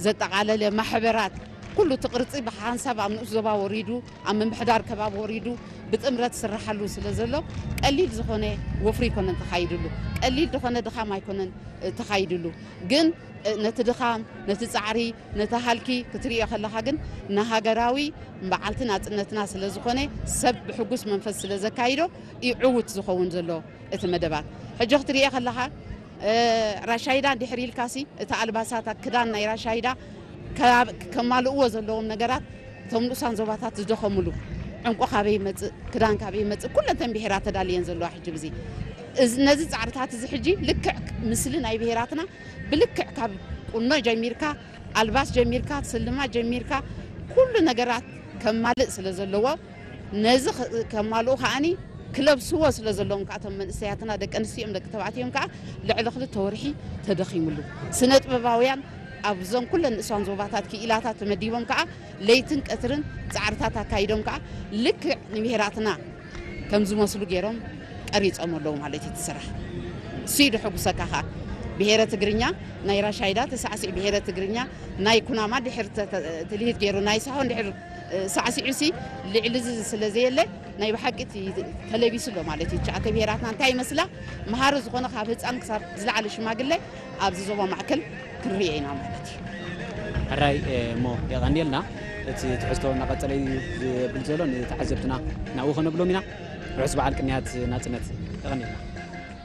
ዘጠቓለለ ማሕበራት፣ ኩሉ እቲ ቅርጺ ብሓንሳብ ኣብ ንኡስ ዞባ ወሪዱ፣ ኣብ ምምሕዳር ከባቢ ወሪዱ ብጥምረት ስርሓሉ ስለ ዘሎ፣ ቀሊል ዝኾነ ወፍሪ ኣይኮነን ተኻይድሉ፣ ቀሊል ዝኾነ ድኻም ኣይኮነን ተኻይድሉ። ግን ነቲ ድኻም፣ ነቲ ጻዕሪ፣ ነቲ ሃልኪ ክትርእዮ ከለኻ ግን ንሃገራዊ በዓልቲ ናጽነትና ስለ ዝኾነ፣ ሰብ ብሕጉስ መንፈስ ስለ ዘካይዶ እዩ ዕዉት ዝኸውን ዘሎ እቲ መደባት። ሕጂ ክትርእዮ ከለኻ ራሻይዳ እንድሕር ኢልካሲ፣ እቲ ኣልባሳት ክዳን ናይ ራሻይዳ ከማልእዎ ዘለዎም ነገራት፣ እቶም ንኡሳን ዞባታት ዝደኸምሉ፣ ዕንቆ ካበይ ይመጽእ፣ ክዳን ካበይ ይመጽእ፣ ኩለንተን ብሄራት ተዳልየን ዘለዋ ሕጂ ግዜ። ነዚ ጻዕርታት እዚ ሕጂ ልክዕ፣ ምስሊ ናይ ብሄራትና ብልክዕ ካብ ቁኖ ጀሚርካ፣ ኣልባስ ጀሚርካ፣ ስልማት ጀሚርካ፣ ኩሉ ነገራት ከማልእ ስለ ዘለዎ፣ ነዚ ከማልኡ ከዓኒ ክለብስዎ ስለ ዘለዎም ከዓ፣ እቶም መንእሰያትና፣ ደቂ ኣንስትዮኦም ደቂ ተባዕትዮም ከዓ ልዕሊ ክልተ ወርሒ ተደኺምሉ። ስነ ጥበባውያን ኣብዞም ኩለን ንእሳን ዞባታት ክኢላታት ተመዲቦም ከዓ ለይትን ቀትርን ጻዕርታት ኣካይዶም ከዓ ልክዕ ንብሄራትና ከም ዝመስሉ ገይሮም ቀሪጾም ኣለዉ ማለት እዩ። እቲ ስራሕ እሱ እዩ ደሐጉሰካ ከዓ። ብሄረ ትግርኛ ናይ ራሻይዳ ተሳዕሲዕ፣ ብሄረ ትግርኛ ናይ ኩናማ ድሕር ትልሂት ገይሩ፣ ናይ ሳሆ ድሕር ሳዕሲዑ ሲ ልዕሊ እዚ ስለ ዘየለ፣ ናይ ብሓቂ እቲ ተለቢሱ ኣሎ ማለት እዩ። ትሽዓተ ብሄራትና እንታይ ይመስላ፣ መሃሪ ዝኾነ ካብ ህፃን ክሳብ ዝለዓለ ሽማግለ ኣብዚ ዞባ ማእከል ክንርእዮ ኢና ማለት እዩ። ሕራይ እሞ የቐንየልና። እቲ ትሕዝቶ እናቐጸለ እዩ ዝብል ዘሎ፣ ንተዓዘብትና ናብኡ ከነብሎም ኢና። ርሑስ በዓል ቅንያት ናጽነት። የቐንየልና።